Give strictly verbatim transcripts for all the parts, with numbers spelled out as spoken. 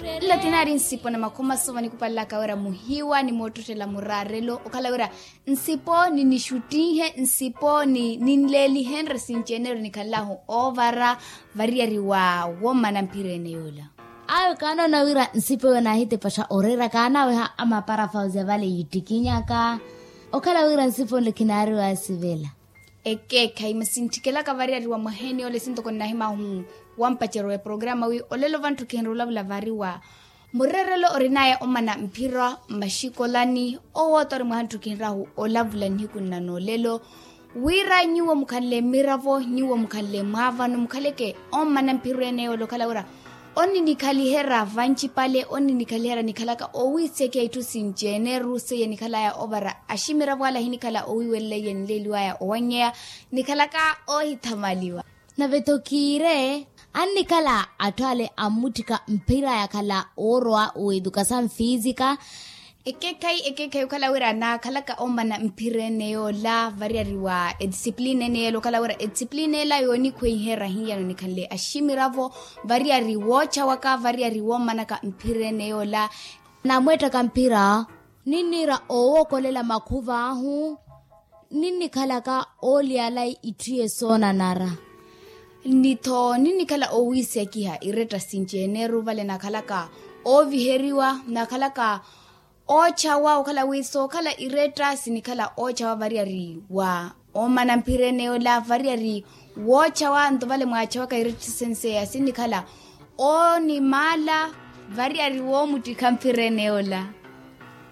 Nlo tinaari nsipo na makhuma sova nikupalelaka wira muhiwa ni moottottela muraarelo okhala wira nsipo ni nixuttinhe nsipo ni ninleelihenre sinci-ene ori nikhalahu oovara variyari wa wommana mphirene yoola. Ayo kaanoona wira nsipo eyo naahitepaxa oreera kaanaweha amapara fauzi avale yiittikinyaka okhala wira nsipo nle khinaari waasivela. Ekeekhayi masi ntthikelaka variyari wa mwaheeni ole sintoko nnahimahu wampacerya wa eprograma wi olelo vantthu khinrolavula vari wa murerelo orinaya omana mphira mmaxikolani owoota ori mwaha ntthu khinrahu olavula nihiku nna noolelo wira nyuwo mukhanle mmiravo nyuwo mukhanle mwaavano mukhaleke omana mphira ene yoola okhala wira onninikhalihera vancipale onninikhalihera nikhalaka owiisekiha itthu sinci-ene ru seiya nikhalaya ovara aximiravo ale ahinikhala owiiwelela iye nleeliwaya owannyeya nikhalaka oohithamaliwa. Nave-tho kiire annikhala atthu ale ammutthika mphira yakhala oorowa w'edukasaw fiisika. Ekeekhayi ekeekhayi okhala wira naakhalaka omana mphira ene yoola variyari wa edisipulina ene yeela okhala wira edisipulina ela yoonikhweiherya hiyano nikhanle aximiravo variyari woochawaka variyari wommanaka mphira ene yoola. Namweetthaka mphira ninniira owookolela makhuva ahu ninnikhalaka ooliyala itthu yesoonanara. Nni-tho ninnikhala owiisekiha iretta sinci-ene ru vale naakhalaka ooviheriwa naakhalaka oochawa okhala wi sookhala iretta sinikhala oochawa variyari wa omana mphira ene yoola variyari woochawa nto vale mwaachawaka iretta senseya sinikhala oonimaala variyari woomuttikha mphira ene yoola.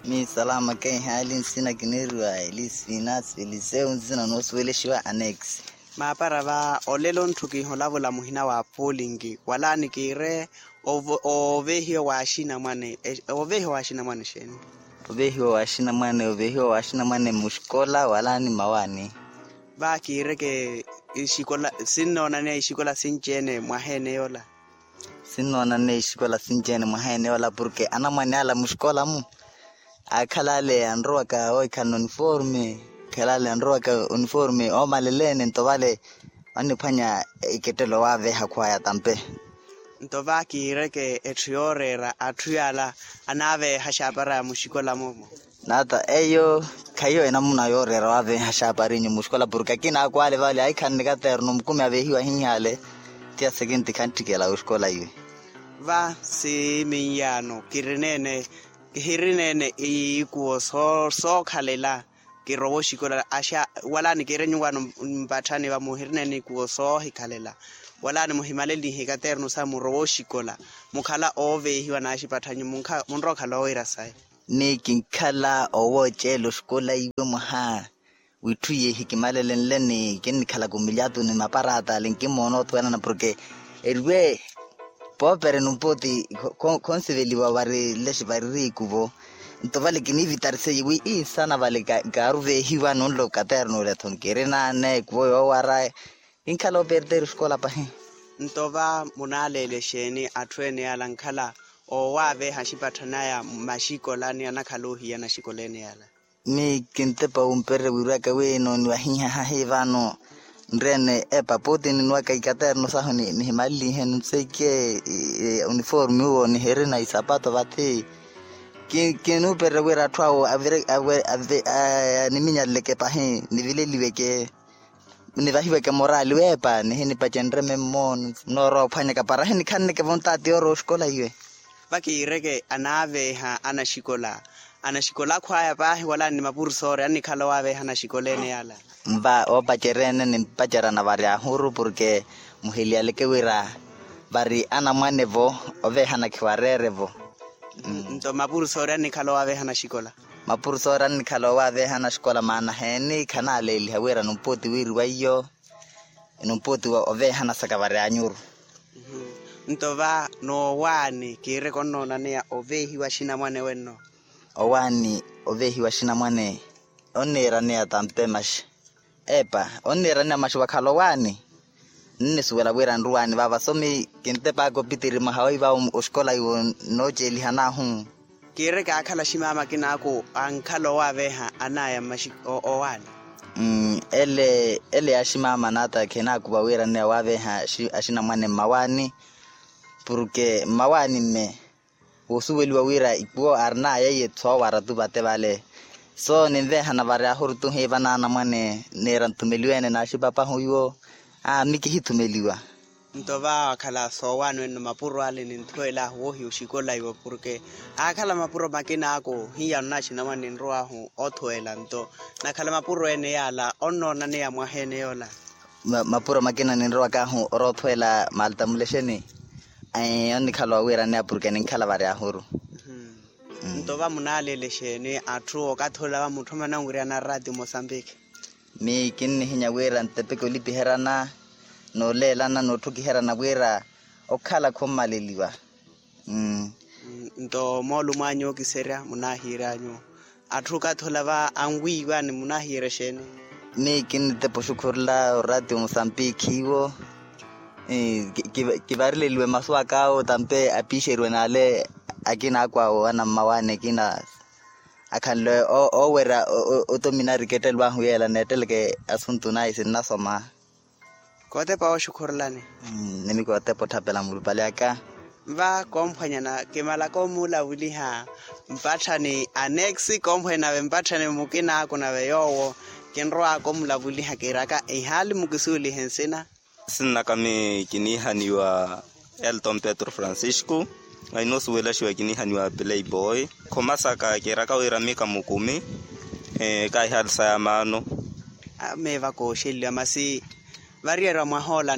Miisalama keihaali nsina kiniiriwa elisi finasi eliseu nsina noosuwelexiwa anekisi. Maapara va olelo ntthu kiholavula muhina wa poolingi wala nikiire oveehiwa wa axinamwane. Oveehiwa wa axinamwane xeeni? Oveehiwa wa axinamwane oveehiwa wa axinamwane muxikola wala ni mawaani. Va kiireke ixikola sinnoonaneya ixikola sinci-ene mwaha ene yoola. Sinnoonanne ixikola sinci-ene mwaha ene yoola porke anamwane ala muxikola-mu aakhala ale anrowaka oohikhalana oniforme aakhala ale anrowaka oniforme oomaleleene nto vale onniphwanya ikettelo waaveeha khwaya tampe. Nto va kiireke etthu yooreera atthu yaala anaaveeha xaapara ya muxikola-mu. Naata eyo khahiyo enamuna yooreera waaveeha xaaparinyu muxikola porke akina akwale vale ahikhanne katerno mukumi aveehiwa ahinhale. Tiya sekinti khantthikela oxikola iwe. Va si minyaano kirineene kihirineene ikuwo sookhalela kirowa oxikola axa wala nikiire nyuwaano mpatthani va muhirineene ikuwo soohikhalela wala nimuhimalelihe katerno sa murowa oxikola mukhala ooveehiwa n'axipatthanyu munrowa okhala oowira sayi. Ni kinkhala owooceela oxikola iwe mwaha w'itthu yeehi kimalelenle ni kinnikhalaka omilyatuni maparaata ale nkimoona othuwenana porke eriwe poopere numpooti khonsiveliwa vari lexe vari riiku vo. Nto vale kiniivitariseiye wi iisana vale kaaruveehiwa nunlo katerno ole-tho nkiri naane kuvo yoowara. Kinkhala operteri oxikola pahi. Nto va munaaleele exeeni atthu ene yaala nkhala oowaaveeha axipatthani aya mmaxikolani anakhala ohiyana axikola ene yaala. Ni kintepa wumpererya wiirwaka wi nooniwahihahahi vano nreene epaputi ninwaka ikaterno sahu nihimalelihe nunseike uniforme uwo nihirina isapato vathi. Kinuupererya wira atthu awo animinyaleleke pahi nivileliweke nivahiweke morali weepa nihinipacenrye memmo. Noorowa ophwanyaka para ahinikhanneke vontaati yoorowa oxikola iwe. Vakiireke anaaveeha anaxikola anaxikola akhwaya paahi wala ni mapurusoori annikhala owaaveeha anaxikola ene yaala. Mva oopacerya ene nimpaceryana vari ahuru porke muhiliyaleke wira vari anamwane-vo oveehana khiwareere-vo. Nto mapurusoori annikhala owaaveeha anaxikola. Mapurusoori annikhala owaaveeha anaxikola maana heeni khanaaleeliha wira numpooti wiiriwa iyo numpooti oveehana saka vari anyuru. Nto va noowaani kiireke onnoonaneya oveehiwa axinamwane wenno. Owaani oveehiwa axinamwane onniiraneya tampe maxi. Epa onniiraneya maxi wakhala owaani. Ninnisuwela wira nruwaani vaava somi kintepaka opitiri mwaha oiva oxikola iwo nooceelihan'ahu. Kiireke aakhala aximama akinaaku ankhala owaaveeha anaya mmaxi owaani. Ele ele ya aximama naata khinaakuva wiiraneya owaaveeha axinamwane mmawaani. Porke mmawaani mme Woosuweliwa wira ikuwo arinaya iye thoowa aratu vate vale. So ninvehana varyahuru tuhiiva n'anamwane, neera nthumeliwe-ene naaxipapahu iwo. Aa mi kihithumeliwa. Nto va akhala soowaano enno mapuro ale ninthuwel'ahu woohiya oxikolaiwa porke aakhala mapuro makina ako hiya onnaxinamwa ninrow'ahu othuwela nto nakhala mapuro ene yaala onnoona neya mwaha ene yoola. Mapuro makina ninrowak'ahu oroothuwela malta mulexeni. Onnikhala owiiraneya porke ninkhala varyahuru. Nto va munaalele exeeni atthu okathi ola va mutthu amananwiriyana rati mosambiki? Miyo kinnihinya wira ntepeke olipiheryana nooleelana nootthukiheryana wira okhala khummaleliwa. Nto moolumo anyu okiserya munaahiira anyu atthu okathi ola va anwiiwa ni munaahiira exeeni? Miyo kinitepa oxukhurula orati omosambiki iwo. Kivarileliwe masu ak'awo tampe apiixeriwe n'ale akina akwawo anammawaani akina akhanle oowerya otominari kettelw'ahu yeela neetteleke asuntu nayi sinnasoma. Kootepa wooxukhurulani. Nimi kootepa otthapela mulupale aka. Va komphwanyana kimalaka omuulavuliha mpatthani anexi komphwanyana nave mpatthani mukina ako nave yoowo kinrowaka omulavuliha kiiraka ihaali mukisuulihe nsina. Sinnakami kiniihaniwa elton petro francisco. Ainoosuwelaxiwa kiniihaniwa playboy. Khomasaka kiiraka wira mika mukumi. Kaahihaali saya maano. Meeva kooxeliwa masi variyeriwa mwahoola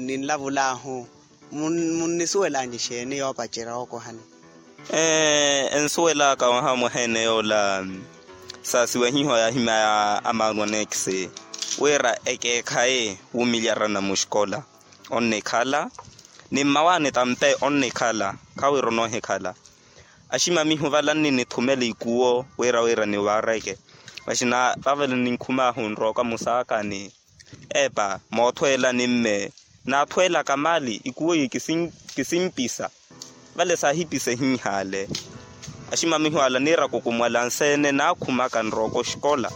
ninlavulaahu. Munnisuwelanyi exeeni yoopacerya ookohani? Ensuwelaka mwaha mwaheene yoola saasiwehiho yaahimya ya amaanu anekisi wira ekeekhayi wuumilyarana muxikola onnikhala ni mmawaani tampe onnikhala khawira onoohikhala. Aximamihu vale anninithumela ikuwo wira wira nivaareke maxina vavale ninkhumaahu nrooka musaakani. Epa moothweela ni mme naathweelaka mali ikuwo iye kisimpisa. Vale saahipisa ehinhaale aximamihu ala niiraka okumwala nseene naakhumaka nrooko oxikola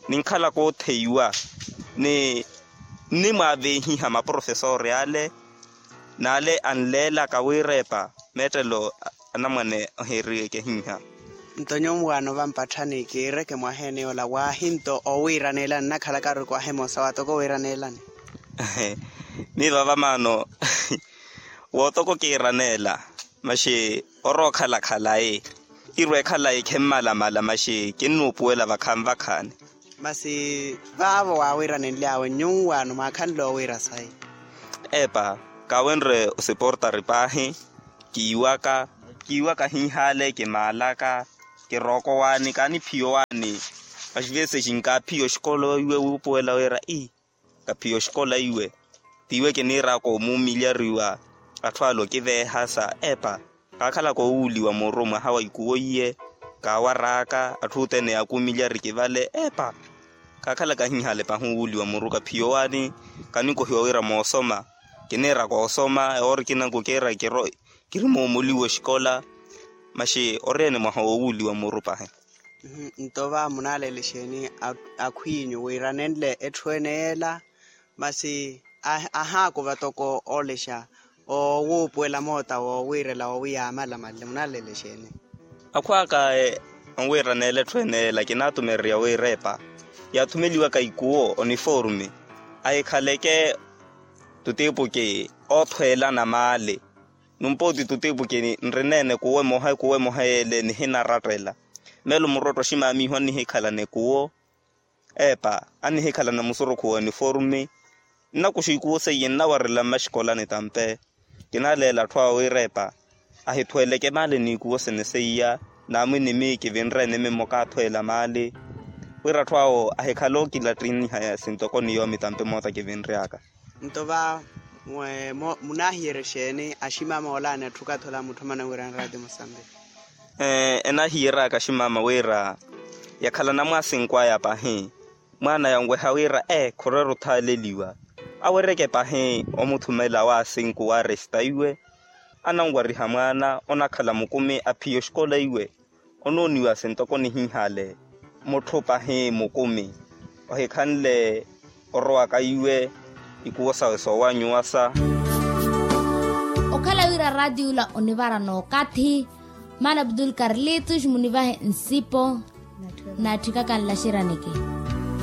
ninkhalaka ootheiwa ni nnimwaaveehiha maprofesori ale n'ale anleelaka wira epa meettelo anamwane ohiiriyeke ehinha. Nto nyuwo mwaano vampatthani kiireke mwaheene yoola waahi nto owiiraneelani nnakhalaka arikwaha emosa waatoko owiiraneelani. Miiva vamaano wootoko kiiraneela maxi orowa okhala khalayi irwa ekhalayi khemmalamala maxi kinnuupuwela vakhaani vakhaani. Masi vaavo waawiiranenly'awe nyuwo mwaakhanle owiira sayi? Epa kaawenre osiportari paahi. Kiiwaka kiiwaka hiihaale kimaalaka kirooko waani kaaniphiyo waani. Maxi veesi exinkaaphiya oxikola iwe wuupuwela wira ii kaphiya oxikola iwe. Tiiwe kiniiraka omuumilyariwa atthu ale okiveehasa epa kaakhalaka owuuliwa muru mwaha wa ikuwo iye. Kaawar'aka atthu othene yaakuumilyari kivale epa kaakhalaka hiihaale pahi owuuliwa muru kaphiya owaani. Kanikohiwa wira moosoma kiniiraka osoma ewoori kinanku kiira kiro kiri moomoliwa oxikola. Maxi ori ene mwaha wowuuliwa muru pahi. Nto va munaalele exeeni akhw'inyu wiiranenle etthu ene yeela? Masi ahaakuva toko oolexa owuupuwela moota woowiirela woowiya aamalamalele munaalele exeeni? Akhw'aka anwiiraneela etthu ene yeela kinaatumererya wira epa yaathumeliwaka ikuwo oniforme ahikhaleke tutiipuki oothweelana maali. Numpooti tutiipuki nrineene kuwo emoha kuwo emoha yeele nihinarattela. Meelo murotto aximamihu annihikhalana ekuwo epa annihikhalana musurukhu wa uniforme. Nnakuxa ikuwo seiye nnawarela mmaxikolani tampe. Kinaleela atthu awe wira epa ahithweeleke maali n'ikuwo sene seiya. Naamwinimi kivinre eneme mmoka athweela maali wira atthu awo ahikhale okilattinihaya sintoko ni yoomi tampe moota kivinry'aka. Nto va munahiyerya exeeni aximama oolaani atthu kathi ola mutthu amananwirana raati musambiki. Enahiyeraka aximama wira yakhala namwaasinkwaya pahi mwaana yanweha wira ee khorweera othaaleliwa. Awereke pahi omuthumela waasinku waaresta iwe ananwariha mwaana onakhala mukumi aphiya oxikola iwe. Onooniwa sintoko nihiihale mutthu pahi mukumi ohikhanle orowaka iwe ikuwo sawe soowanyuwasa. Okhala wira raatiyo ola onivara n'okathi. Maana abdul karlitus munivahe nsipo. Naatthikaka nlaxeraneke.